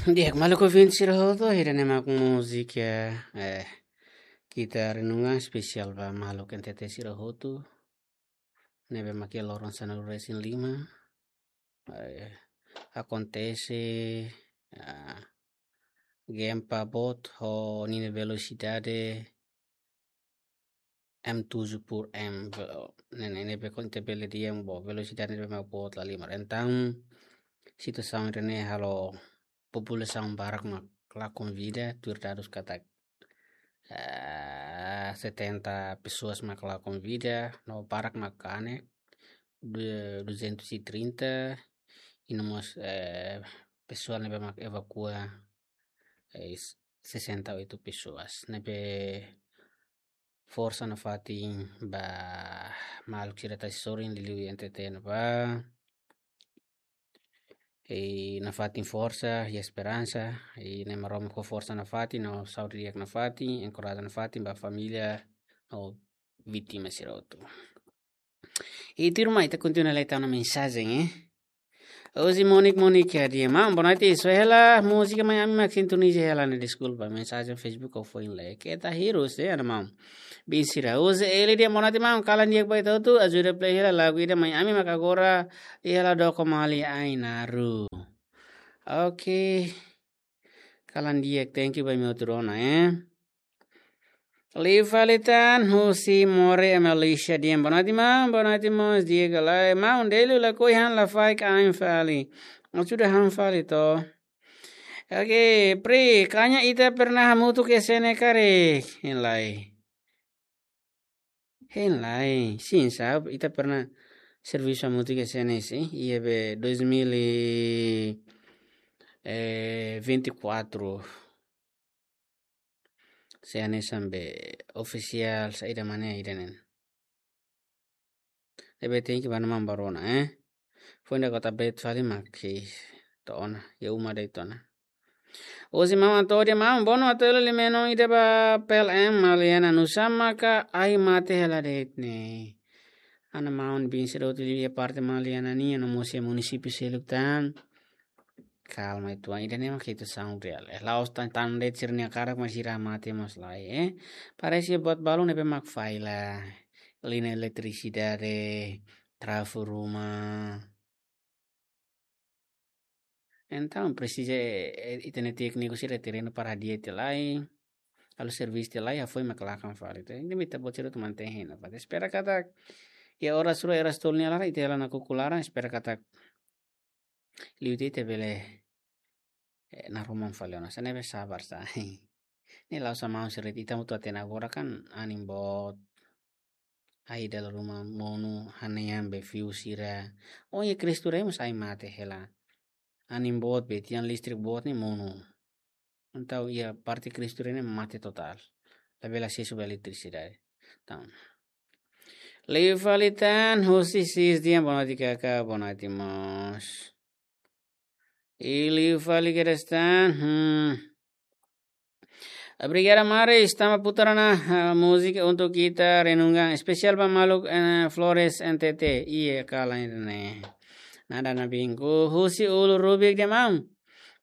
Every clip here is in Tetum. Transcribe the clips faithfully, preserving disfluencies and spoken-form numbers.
Di'ak, maluk ouvinte sira hotu, ida-ne'e mak múzika, eh, Kita Renungan, espesiál ba maluk N T T sira hotu. Ne'ebé mak iha loron sanulu-resin-lima. Eh, akontese, ah, gempa boot ho ninia velosidade M tujuh por M, ve-, ne'e, ne'e, ne'ebé kon te bele dehan bo velosidade ne'ebé mak boot lahalimar. Entaun, situasaun ida-ne'e halo populasaun barak mak lakon vida, tuir dadus katak, eh, setenta pessoas mak lakon vida, no barak mak kanek, du-, duzentos e trinta, i no mós, eh, pessoa ne'ebé mak evakua, eh, sessenta e oito pessoas. Ne'ebé forsa nafatin ba maluk sira tasi sorin liuliu N T T ne'ebá. I nafatin forsa i esperansa, i Na'i Maromak fó forsa nafatin, no saúde di'ak nafatin, enkoraja nafatin ba família no vítima sira hotu. I tuirmai ita kontinua lai tau ona mensajen, eh. Ozi Monik Monik ya dia, maun, boa noite, soe hela múzika mai ami mak sintoniza hela ne'e, deskulpa, mensajen Facebook ha'u foin lee. Keta hirus, eh, ana maun. Bin sira, ozi ele dia, boa noite, maun, kalan di'ak ba ita hotu, ajuda play hela lagu ida mai ami mak agora, iha Ladoko Mali Ainaro. Oke. Kalan di'ak, thank you ba imi hotu rona, eh. Liu fali tan, husi More Amelisha dehan, boa noite, maun, boa noite, maun, di'ak ka lae, maun, Delio lakohi han lafaek ain fali. Ajuda han fali to. Oke, Pri, kanya ita pernah hamutuk S N S karik? Hein lai. Hein lai, sin, sá, ita pernah servisu hamutuk S N S, eh? Iha be dois mil e, eh, vinte e quatro. S N S hanesan be ofisiál, saida mak ne'e ida-ne'e. Ne'ebé thank you ba maun baru ona, eh. Foin ida kota bet fali mak to'o ona, iha uma de'it ona. Ozi maun atu dia maun, bono atu ele limenon ida ba P L M Maliana, nusá maka ahi mate hela de'it ne'e. Ana maun bin sira hotu iha parte Maliana nian no mós iha munisípiu seluk tan. Kalma uitoan, ida-ne'e mak situasaun reál. Eh, la'ós tan, tan de'it sira-nia karak mak sira mate mós lae, eh. Parese buat balun ne'ebé mak falla. Liña eletrisidade, trafu ruma. Entaun, presiza, eh, eh, ita-nia tékniku sira terrenu para hadi'a tiha lai. Halo servisu tiha lai, hafoin mak lakan fali. Entaun, ita-boot sira hotu mantein hein nafatin. Espera katak, iha oras rua, oras tolu nia laran, ita hela nakukun laran, espera katak liu tiha ita bele, eh, naroman fali ona. Hanesan ne'e be sabar sá. Ne'e la'ós maun sira de'it, ita hotu hatene agora kan anin boot. Ai dala ruma monu, hanehan be fiu sira. Oh, iha Cristo Rei mós ahi mate hela. Anin boot be tiha, listrik boot ne'e monu. Entaun iha parte Cristo Rei ne'e mate totál. Labele asesu ba eletrisidade. Entaun. Liu fali tan, husi Sis dehan boa noite kaka, boa noite mós. I liu fali kedas tan, hmm. Obrigada, Mari. Estamos putar na, ah, música untuk kita renungan. Espesiál ba maluk, eh, Flores N T T. Iha kalan ne'e. Nada na bingku. Husi Ulu Rubik dehan maun.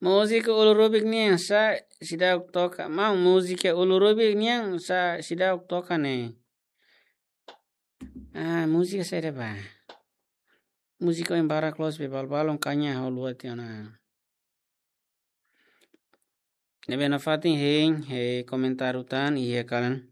Múzika Ulu Rubik nian sá seidauk toka. Maun, múzika Ulu Rubik nian sá seidauk toka ne'e. Ah, múzika saida ba? Múzika oin barak loos be balun-balun kanya ha'u haluha tiha ona. Ne'ebé nafatin hein, eh, komentáriu tan iha kalan.